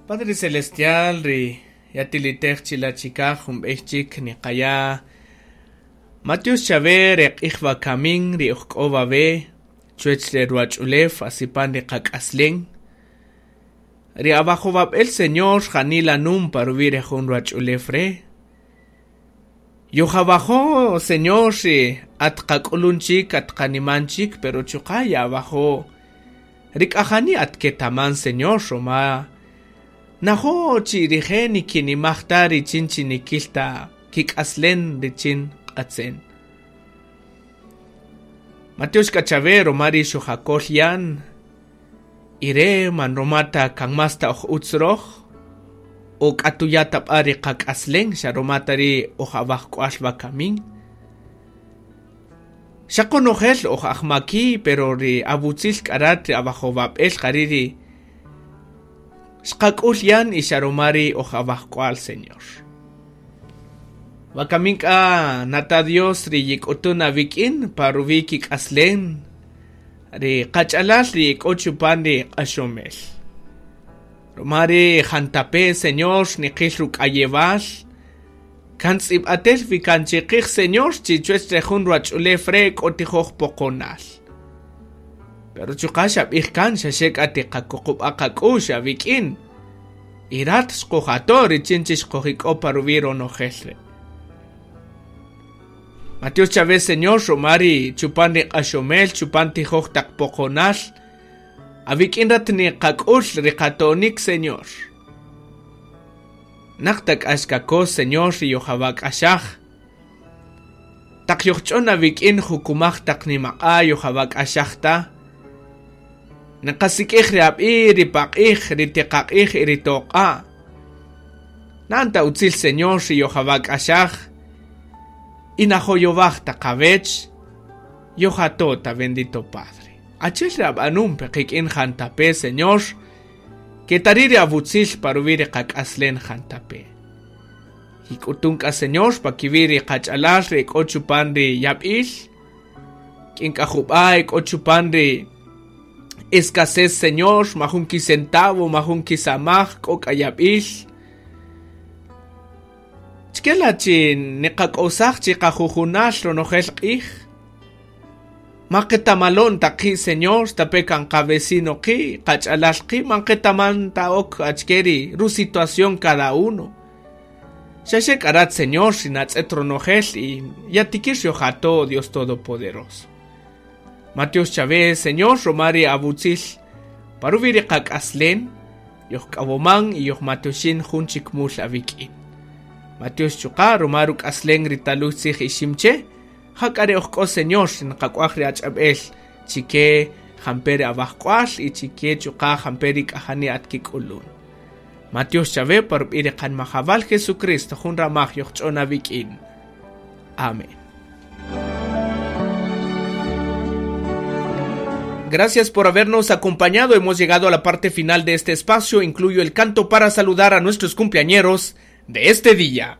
Padre Celestial, ri yatilitej chilachikaj jun b'ey chik niqaya Matius Chave re q'ij wakamin ri ojk'o wawe chuwech re ruwach'ulew asipan ri qak'aslen ri awajowab'el Señor janila num pa ruwi' re jun ruwach'ulew re Yojawajo Señor ri at qak'ulun chik at qaniman chik pero chuqa' yawajo ri k'ajani at ketaman Señor roma najo chi rije' nikinimaj ta richin chi nikil ta kik'aslen richin q'atzen. Mateus k'achave roma ri xojakol yan ire man romata kan mas ta oj utz roj o k'atuya ta b'a ri qak'aslen xa romata ri oj awajk'wal wakamin. Xa qonojel oj ajmaki pero ri awutzil k'arat ri awajowab'el jari ri xqak'ul yan y xa roma ri oj awajk'wal Señor. Wakamin k'a nata Dios ri yik'utun awik'in pa ruwi' kik'aslen ri qach'alal ri k'o chupan ri q'axomel. Roma ri jantape Señor niqil ruk'ayewal kan tz'ib'atel wi kan chiqij Señor chi chuwech re jun ruwach'ulew re k'o tijoj poqonal. Pero chuqa' xab'ij kan xaxe k'a tiqakuqub'a qak'u'x awik'in. Y rat xqojato richin chi xqojik'o pa ruwi' ronojel re. Mateus Chávez Señor roma ri chupan ri q'axomel chupan tijoj taq poqonal awik'in rat niqak'ul ri qatonik Señor. Naq tak axkakos Señor ri yojawak'axaj. Taq yojch'on awik'in jukumaj taq nimaq'a yojawak'axaj ta. Naqasik'ij ri ab'i ri paq'ij ri tiqaq'ij y ri toq'a. Nanta utzil Señor ri yojawak'axaj. Y najoyowaj taqawech yojatota bendito Padre. Achel ri ab'anum peqik'in jantape Señor que tariri awutzil pa ruwi' ri qak'aslen jantape. Jik'utun k'a Señor pa kiwi' ri qach'alal ri k'o chupan ri yab'il k'in k'a jub'a k'o chupan ri escasez Señor majun kisentavo majun kisamaj k'o k'a yab'il Chkela chi niqak'osaj chi qajujunal ronojel q'ij Ma qetamalon taqi Señor tape kan qavecino qi qach'alal qi man qetaman ta ok achkeri ru situación cada uno. Xaxe k'arat Señor xinatz'et ronojel y yatikir yojato Dios Todopoderoso. Mateus Chávez Señor romari abutzil paruwi ri qak'aslen yojk'awoman y yojmatioxin jun chik mul awik'in. Mateus chuqa romaru k'aslen ri taluj tzij iximche jak'are ojk'o Señor nqak'uaj ri ach'ab'el chike jamperi awajk'wal y chike chuqa jamperi k'ajani atkik'ulun. Mateus Chávez parub'i ri qanmajawal Jesucristo jun ramaj yojch'on awik'in. Amén. Gracias por habernos acompañado. Hemos llegado a la parte final de este espacio. Incluyo el canto para saludar a nuestros cumpleañeros de este día.